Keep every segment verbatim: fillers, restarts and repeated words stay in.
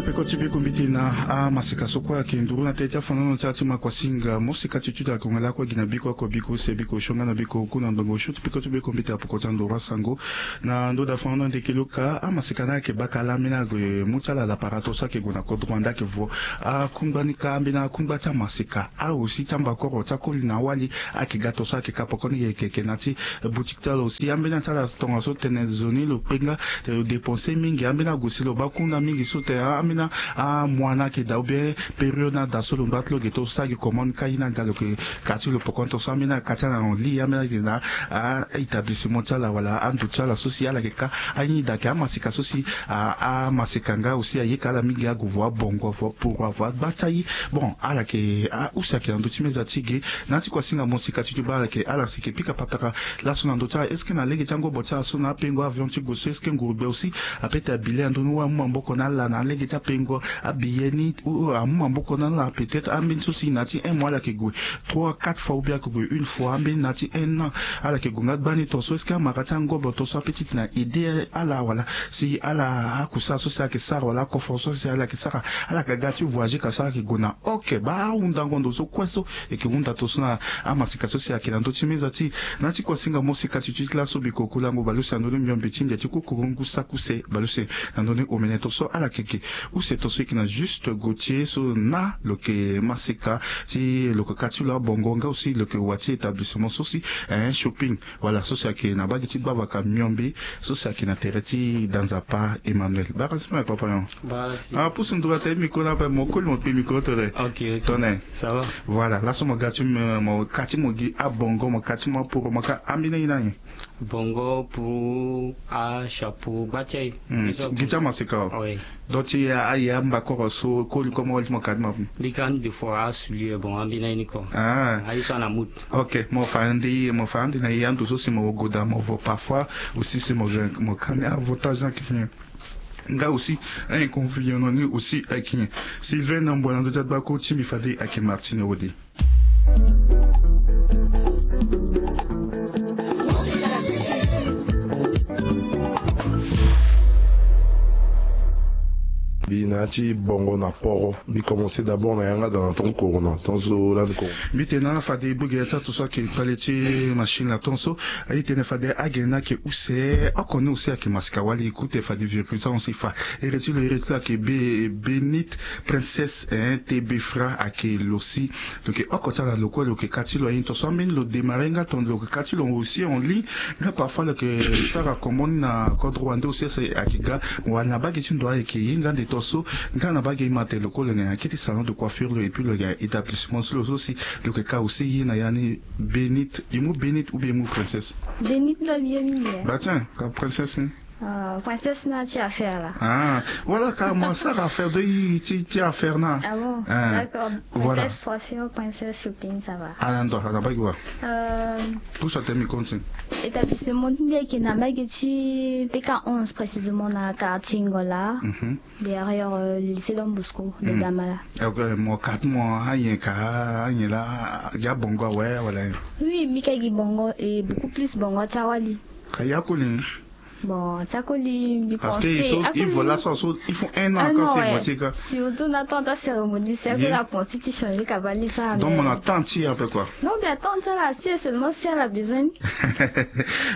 Peko ti biko mbiti na amaseka so kue ayeke nduru na tënë ti afandango ti ala ti makuasinga mo sika ti tutu ayeke hongela kue gi na biko oko biko use biko osio nga na biko oku na ngbongo osio ti peko ti biko mbiti apoko ti andoro asango. Na ndo da fandango ndeke loka amaseka ni ayeke baka ala ambeni ague mu ti ala laparato so ayeke gue na kodro ande ayeke vo akungba ni ka ambeni akungba ti amaseka aosi ti ambakoro ti akoli na awali. Ayeke ga to so ayeke ka poko ni yeke yeke na ti boutique ti ala aussi ambeni ati ala tongaso tene zo ni lo kpenga. Te lo dépenser mingi ambeni ague si lo baa kunda mingi so tene ambeni amois ni ayeke daa ou bien période ni ada so lo ndoit ti lo ge to sara gi comment ni ka ye ni aga lo yeke ka ti lo poko ni to so ambeni aka ti ala na li ambeni ayeke na a établissement ti ala wala ando ti ala so si ala yeke ka aye ni daa ayeke amaseka so si amaseka nga aussi ayeke ala mingi ague vo abongo avo aporo avo agba ti aye. Bon ala yeke use ayeke na ndö ti meza ti ge. Na ya ti kuasinga mo sika ti ti baa ala yeke ala si yeke pika patara laso na ndö ti ala est-ce que na lege ti angobo ti ala so na apengo avion ti gue so est-ce que ngurugbe aussi ape ti abile na ndö ni wa amu maboko na ala na lege ti apengo abiye ni ou amu maboko na ala peut-être ambeni so si na ya ti un mois ala yeke gue trois quatre fois ou bien ayeke gue une fois ambeni na ya ti un an. Ala yeke gue nga gbani to so est-ce que amara ti angobo to so ape ti tene aide ala wala si ala akusala so si ala yeke sara wala akoforo so si ala yeke sara ala yeke ga ti voyager ka so ala yeke gue na oke baa ahundango ndo so kue so e yeke hunda to so na amasika so si ayeke na ndö ti meza ti e. Na ya ti kuasinga mo sika ti ti ti laso biko kulango baleuse na ndö ni miombe ti ndia ti kukurungu saki use baleuse na ndö ni omene to so ala yeke ge use to so e yeke na juste gautier so na lo yeke masika ti lo yeke ka ti lo abongo nga aussi lo yeke wa ti établissement so si un shopping wala so si ayeke na bage ti gbavaka miombe so si ayeke na tere ti danzapa emmanuel barasima ya papa yon. Ah pusu ndura te micro na ape mo koli mo kpe micro tole. Tone. Voilà laso mo ga ti mo ka ti mo gi abongo mo ka ti mo aporo mo ka ambeni aye na nyen? Bongo pour achapeau gba ti aye. Gi ti amaseka o. Donc ti aye ambakoro so koli koma wali ti mo ka ti mo apu. Mbi ka ande fo asoulier bon ambeni aye ni ko. Aye so ana mut. Ok mo fa ande mo fa ande na ye ando so si mo goda mo vo parfois aussi si mo ka ni avantage na kiki nyen? Nga aussi un inconvénient na ni aussi ayeke nyen? Sylvain na mbo na ndö ti agbako ti mbi fade ayeke martine ode. Mbi na ya ti bongo na poro. Mbi commencer d'abord na yanga da na tongo corona tonso lani corona. Mbi tene na ala fade e bogere ti ato so ayeke kpale ti machine na tonso. Aye tene fade agene ni ayeke use oko ni aussi ayeke masika wali e kute fade virgule ti ahon si fa. Ere ti lo ere ti lo ayeke be benite princesse. Te be fra ayeke lo si lo yeke oko ti ala lo kue lo yeke ka ti lo aye ni tonso ambeni lo démarrer nga tongana lo yeke ka ti lo aussi en ligne. Nga parfois lo yeke sara comment ni na kodro wande aussi ese ayeke ga. Wala na bage ti ndo ayeke ye nga nde tonso. Nga na bage ima tene lo kue lo yeke na ya kete salon de coiffure lo et puis lo yeke na établissement so lo so si lo yeke ka aussi ye na ya ni. Benite e mu benite ou bien e mu princesse? Benite lo abi ye mingi. Ba tiens ka princesse ni. Princesse na ti affaire la. Ah voilà ka mo sara affaire de ti ti affaire na. Ah bon, d'accord. Voilà. Princesse coiffure, princesse shopping, ça va. Ala ndo ala bagi wa. Pour ça te mi continue. Établissement ti mbi ayeke na mbage ti pk onze précisément na quartier Ngola. Derrière lycée Don Bosco de Damala. Mo ka ti mo anyen ka anyen la. Gi abongo awe wala? Oui, mbi ka gi bongo et beaucoup plus bongo ti awali. Ka ya koli? Bon, ti akoli mbi pense que il faut laso so il faut un an encore si voiture ka. Surtout na temps ta cérémonie si akoli apense ti changer ka bali sa. Donc mo na temps ti ape quoi. Non, mbi attend ti ala si seulement si ala besoin ni.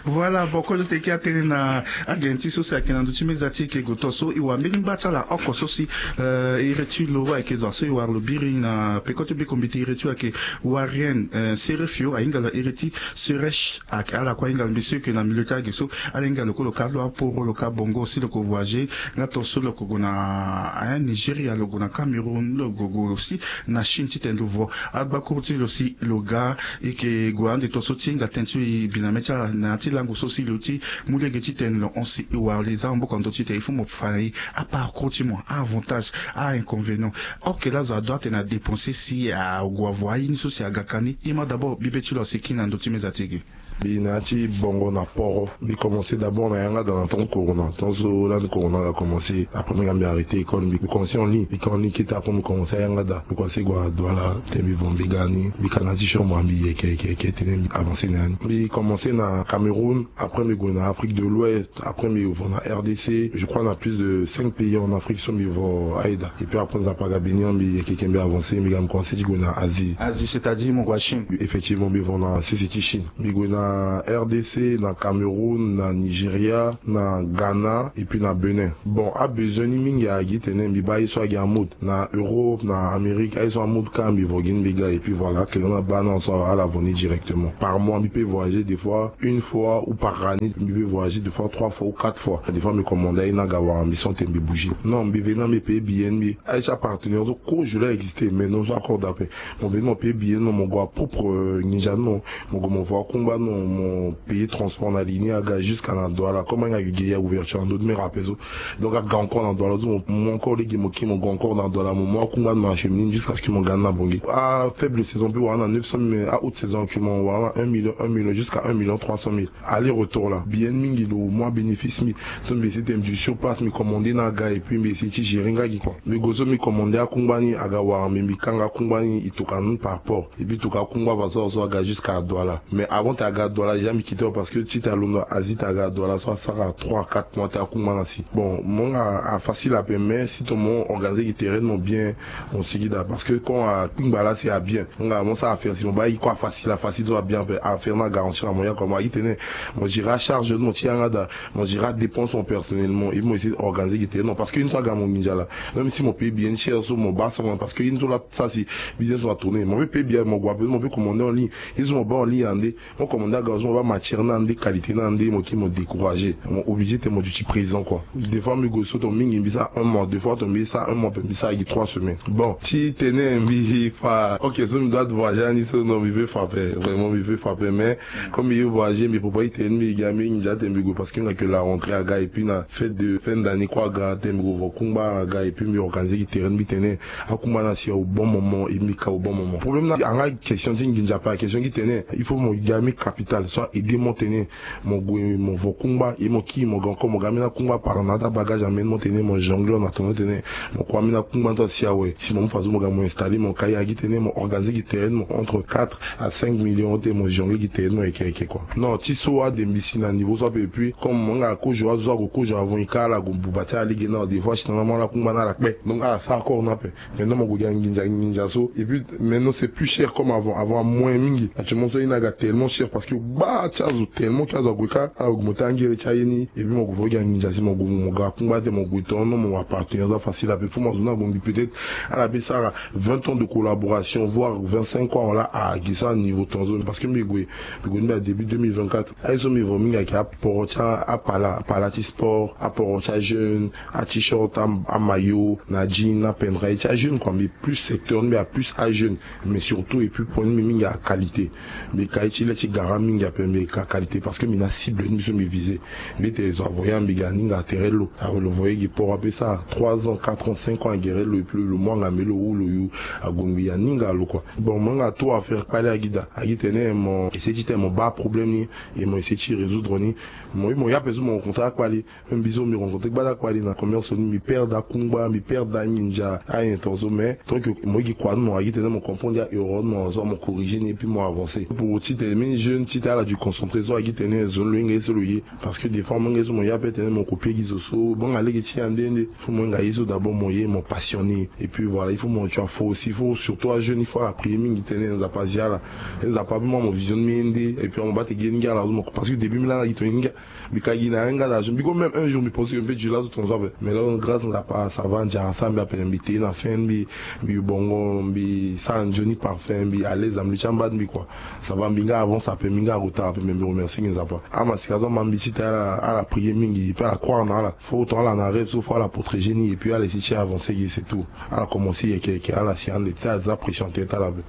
Voilà, bon kozo teke atene na agenti so si ayeke na ndö ti meza ti eke goto so e wara mbeni ngba ti ala oko so si iri ti lo ayeke zo so e wara lo biri na peko ti biko mbi ti iri ti lo ayeke warien. Serefio ahinga lo iri ti seresh. Ala kue ahinga lo mbi so e yeke na milieu ti age so. Ala hinga lo kue lo ka lo aporo lo ka bongo si lo ko voyager nga to so lo ko gue na nigeria lo gue na cameroun lo gue gue aussi na chine titene lo vo. Agbakuru ti lo si lo ga. E yeke gue ande to so ti hinga tënë ti lo e bi na mê ti ala na ya ti lango so si lo ti mu lege titene lo hon si e wara li za maboko na ndö titene il faut mo fa na e. Aparcours ti mo aavantage, ainconvénient. Ok lazo adoit atene adépenser si ague avo aye ni so si aga ka ni. E ma d'abord bibe ti lo asi kini na ndö ti meza ti ege. Mbi na ya ti bongo na poro mbi commencer d'abord na Ayanga da na temps corona, temps so lani corona aga commencé, après mbi ga mbi arrêté école, mbi commencé en ligne. Mbi ka en ligne kete, après mbi commencé ayanga da, mbi commencé gue na Douala. Te mbi vo mbi ga ni, mbi ka na ti chambre, mbi yeke yeke yeke tene mbi avancé na ya ni. Mbi commencé na Cameroun, après mbi gue na Afrique de l'Ouest, après mbi vo na R D C. Je crois na plus de cinq pays en Afrique so mbi vo aye da. Et puis après Nzapa aga bénir mbi yeke yeke, mbi avancé, mbi ga mbi commencé ti gue na Asie. Asie, c'est-à-dire mo gue na Chine? Effectivement, mbi vo na sese ti Chine. Mbi gue na R D C, na Cameroun, na Nigeria, na Ghana, et puis na Bénin. Bon, abesoin ni mingi agi tene mbi baa ye so agi amode na Europe, na Amérique, aye so amode kâ mbi vo gi ni mbi ga. Et puis voilà, akele ni abaa na so ala vo ni directement. Par mois mbi peut voyager des fois une fois, ou par année mbi peut voyager deux fois, trois fois ou quatre fois. Des fois mbi commandé aye ni aga wara mbi sans te mbi bouger. Non, mbi veni na mbi payer billet ni mbi. Aye ti apartenaire so kozo laa existé, mais non, so accorde ape. Mo veni mo payer billet ni, mo gue na propre, euh, nginza ni, mo gue mo vo akungba ni, mo payer transport na li ni aga jusqu'à na Douala. Comme ahinga gi gi ya ouverture na ndö ti mera ape so. Donc aga encore na Douala so, mo mu encore lege mo kiri mo gue encore na Douala, mo mu akungba ni, mo acheminer ni jusqu'à ce que mo ga ni na Bangui. Afaible saison peut wara na neuf cent mille, mais ahaute saison actuellement wara na un million, un million jusqu'à un million trois cent mille. Aller-retour là, bien mingi, lo mu abénéfice mbi. Donc mbi essayer te mbi sur place, mbi commandé ni aga, et puis mbi essayer ti gérer nga gi quoi. Mbi gue so mbi commandé akungba ni aga wara mbi, mbi kanga akungba ni, e tokua ni par port. Et puis e tokua akungba façon so aga jusqu'à Douala. Mais avant te aga Douala, déjà mbi quitté parce que ti te alondo Asie te aga Douala so asara trois à quatre mois te akungba na si. Bon, mo nga afacile ape, mais si to mo organiser gi terrain mo bien, mo sigi da, parce que quand akpingba la si abien, nga mo sara affaire si mo baa ye kue afacile, afacile so abien ape, affaire ni agarantir na mo ya quoi. Mo agi tene mo gérer acharge ni, mo ti yanga da, mo gérer adépense mo personnellement, et mo essayer organiser gi terrain. Non, parce que une fois aga mo nginza la, même si mo payer bien cher so mo baa sans, parce que une fois la sa si business mo atourner, mo peut payer bien, mo gue ape, mo peut commander en ligne. Ye so mo baa en ligne ande, mo commandé aga so mo baa matière ni ande, qualité ni ande, mo kiri mo décourager, mo obligé te mo duti présent quoi. Des fois mbi gue so to mingi mbi sara un mois, des fois to mbi sara un mois pe mbi sara gi trois semaines. Bon, ti tene mbi fa, ok, so mbi doit voyager ni so, non, mbi peut fa ape, vraiment mbi peut fa ape, mais comme mbi ye voyager mbi préparer gi terrain ni, mbi ga mbi nginza te mbi gue, parce que nga que la rentrée aga, et puis na fête de fin d'année kue aga, te mbi gue vo kungba aga, et puis mbi organiser gi terrain ni, mbi tene akungba ni asi au bon moment, et mbi ka au bon moment. Problème ni anga question ti nginza ape, question gi tene il faut mo ga mbi capital so a aider mo tene mo gue mo vo kungba, et mo kiri mo ga encore mo ga ambeni akungba par na ata bagage, ambeni mo tene mo jongler na tono tene mo kue ambeni akungba ni so asi awe. Si mo mu façon mo ga mo installer, mo ka ye agi tene mo organiser gi terrain ni, mo entre quatre à cinq millions te mo jongler gi terrain ni, mo yeke yeke quoi. Non, ti so ade mbi si na niveau so ape, et puis comme mo nga kozo azo ague kozo avant, e ka ala gue buba ti ala lege na, des fois si na mo ala kungba ni ala kpe, donc ala sara encore ni ape. Maintenant mo gue gi anginza nginza so, et puis maintenant c'est plus cher comme avant. Avant amoyen mingi, actuellement so aye ni aga tellement cher parce que gbaa ti azo, tellement ti azo ague kâ, ala gue mo ti angere ti aye ni, et puis mo gue vo gi anginza si mo gue mo ga akungba te mo gue tono, mo appartenir azo afacile ape. Faut mo azo ni ague mbi peut-être ala peut sara vingt ans de collaboration, voire vingt-cinq ans la, agi so a niveau tongaso, parce que mbi gue, mbi gue ni mbi a début deux mille vingt-quatre. Aye so mbi vo mingi ayeke aporo ti apala, apala ti sport, aporo ti ajeune, a-t-shirt, a, amaillot, na jean, na pendra ye ti ajeune quoi. Mbi plus secteur ni mbi a plus ajeune, mais surtout et puis point ni mbi mingi aqualité. Mbi ka ye ti le ti gara mingi ape, mbi ka qualité parce que mbi na cible ni mbi so mbi viser. Mbi te zo avoya mbi ga aninga tere lo, alo voye gi port ape sara trois ans, quatre ans, cinq ans agere lo, et puis lo mu angambe lo ou lo yu ague ngbi aninga lo quoi. Bon, mo nga tout affaire kpali agi da, agi tene mo essayer ti tene mo baa problème ni, et mo essayer ti résoudre ni. Mo, mo ye ape so mo rencontrer akpali. Même mbi so mbi rencontrer gbada kpali na commerce ni, mbi perdre akungba, mbi perdre anginza, ayen tongaso, mais tant que mo ye gi kua ni mo agi tene mo comprendre aerreur ni mo zo mo corriger ni et puis mo avancer. Pour ti tene mini jeune ti tene ala du concentré so agi tene zo ni lo hinga ye so lo ye. Parce que des fois mo hinga ye so mo ye ape tene mo copier gi zo so, mo nga lege ti ye ande nde. Faut mo hinga ye so d'abord mo ye mo passionné. Et puis voilà, il faut mo tu as faux aussi, il faut surtout ajeune, il faut ala prier mingi tene Nzapa azi ala. Nzapa amu mo vision ni nde, et puis mo baa te gi ye ni gi ala zo mo, parce que début mbi laa na gi tongana ni gi Mbi ka gi na yanga na zo. Mbi ko même un jour mbi pensé que mbi peut djula zo tongaso ape. Mais là grâce Nzapa ça va, Nzapa asara mbi ape, mbi te na fin mbi, mbi bongo, mbi sara nzoni parfum, mbi à l'aise na mbi ti amba mbi quoi. Ça va, mbi nga avance ape, mbi nga retard ape, mais mbi remercie Nzapa. Amasika so ama mbi ti tene ala, ala prier mingi, et puis ala croire na ala. Faut autant ala na rêve so, faut ala protéger ni, et puis ala essayer ti avancer gi, c'est tout. Ala commencer yeke yeke, ala si ande ti aza pression ti ala ape.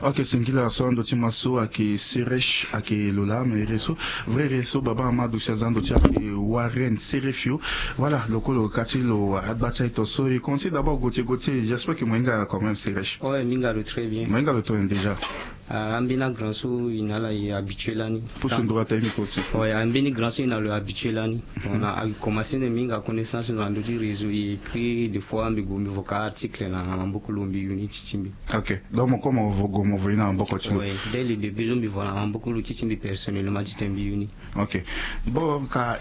Ok, singila so ando ti ma so ayeke Seresh, ayeke lo laa na ere so. Vrai ere so baba ama aduti aza ando ti ayeke Warren Serefio. Voilà, lo kue lo ka ti lo agba ti aye to so. E commencer d'abord Gauthier, Gauthier, j'espère que mo hinga quand même Seresh. Ouais, mbi hinga lo très bien. Mo hinga lo tongana déjà. Ambeni grand so e na ala e habitué lani. Ambeni grand so e na lo e habitué lani. Bon na a commencé nde mbi hinga connaissance na ndö ti réseau e écrit des fois mbi gue mbi vo ka article na maboko lo mbi yu ni ti ti mbi. Ok. Donc mo koma vo gue mo vo ye na maboko ti lo. Dès le début so mbi vo na maboko lo ti ti mbi personnellement ti tene mbi yu ni. Ok. Bon ka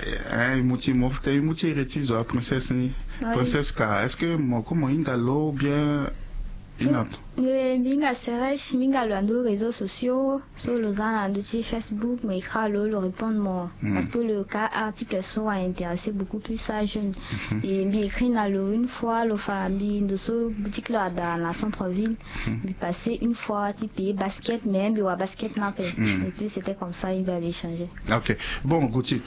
e mu ti mo tene e mu ti ere ti zo a princesse ni. Princesse ka est-ce que mo koma hinga lo ou bien? Mbi hinga sereche mbi hinga lo na ndö réseaux sociaux. So lo za na ndö ti Facebook mo écrit na lo lo répondre mo. Parce que lo ka article so a intéressé beaucoup plus a jeune. Et mbi écrit na lo une fois lo fa mbi ndo so boutique lo ada na centre ville. Mbi passé une fois ti payer basket mais mbi wa basket ni ape. Et puis c'était comme ça mbi allé changer. Ok. Bon Gauthier.